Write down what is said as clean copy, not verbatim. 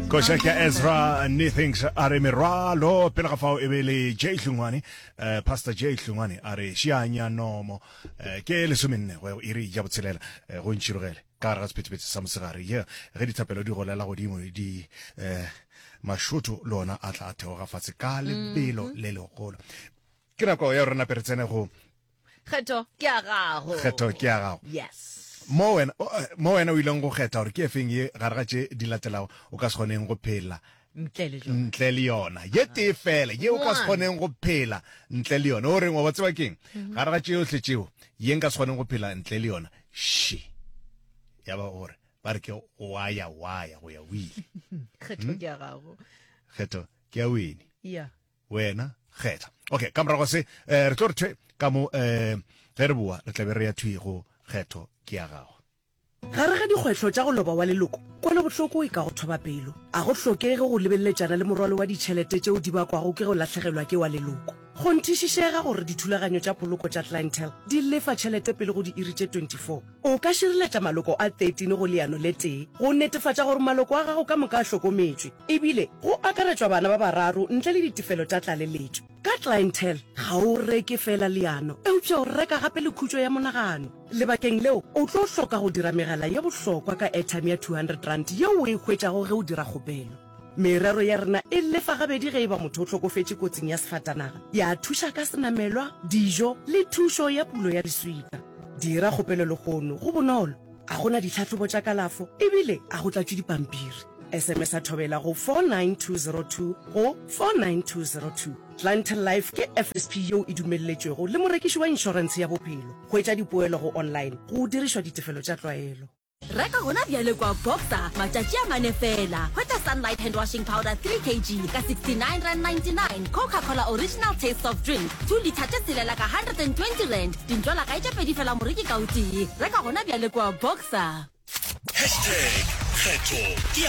Koša ke Ezra Nethings a re merwalo pele ga fao e be le J Hlungwane eh, Pastor J Hlungwane a re šianya nomo eh, ke lesomenne go iri ya botshelela eh, go ntšhirogele ka gare ga sephethephethe sa mosegare ye ge dithapelo di golela godimo di eh, mašoto le ona a tla a theoga fatshe ka lebelo le legolo ke nako ya gore nape re tsene go Kgetho ke ya gago. Kgetho ke ya gago. Yes. Mo wena eh, mo wena o ileng go kgetha gore ke efeng ye gare ga tše di latelago o ka se kgoneng go phela ntle le jona. Ntle le yona. Ye tee fela ye o ka se kgoneng go phela ntle le yona. O reng wa ba tseba keng? Mhm. Gare ga tšeohle tšeo ye nka se kgoneng go phela ntle le yona. She. Ya ba gore ba re ke waya waya go ya o ile. Kgetho hmm? ke ya gago. Kgetho ke ya wene. Yeah. Wena kgetha. Okay, ka morago se eh, re tlo re thwe ka mo eh, ge re boa re tlabe re ya thwi go kgetho ke ya gago. Gare ga dikgwetlho tša go loba wa leloko, kwelobohloko e ka go thoba pelo. A go hlokege go lebeleletšana le morwalo wa ditšhelete tšeo di bakwago ke go lahlegelwa ke wa leloko. Kgonthišišega gore dithulaganyo tša poloko tša Clientele di lefa tšhelete pele go diiri tše 24. O ka šireletša maloko a 13 go leano le tee go netefatša gore maloko a gago ka moka a hlokometšwe, ebile go akaretšwa bana ba bararo ntle le ditefelo tša tlaleletšo. Ka Clientele, ga o reke feela leano, eupša o reka gape le khutšo ya monagano. Lebakeng leo, o tlo hloka go dira megala ye bohlokwa ka airtime ya R200 yeo o e hwetšago ge o dira kgopelo. Merero ya rena e lefa gabedi ge e ba motho o hlokofetše kotsing ya sefatanaga, ya thuša ka senamelwa, dijo le thušo ya pulo ya leswika. Dira kgopelo lehono, go bonolo, ga go na ditlhahlobo tša kalafo e bile ga go tlatšwe dipampiri. SMS-a Thobela go 49202 go 49202. Clientele Life ke FSP yeo e dumelletšwego le morekiši wa inšorentshe ya bophelo. Hwetša dipoelo go online go dirišwa ditefelo tša tlwaelo. Reka gona bjale kwa Boxer, matšatši a mane fela. Hwetša Sunlight hand washing powder 3 kg ka R69.99, Coca-Cola Original Taste soft drink 2 litha tše tshelela ka R120, dintlolagae tše pedi fela moreki ka o tee. Reka gona bjale kwa Boxer. Hashtag kgetho ke ya.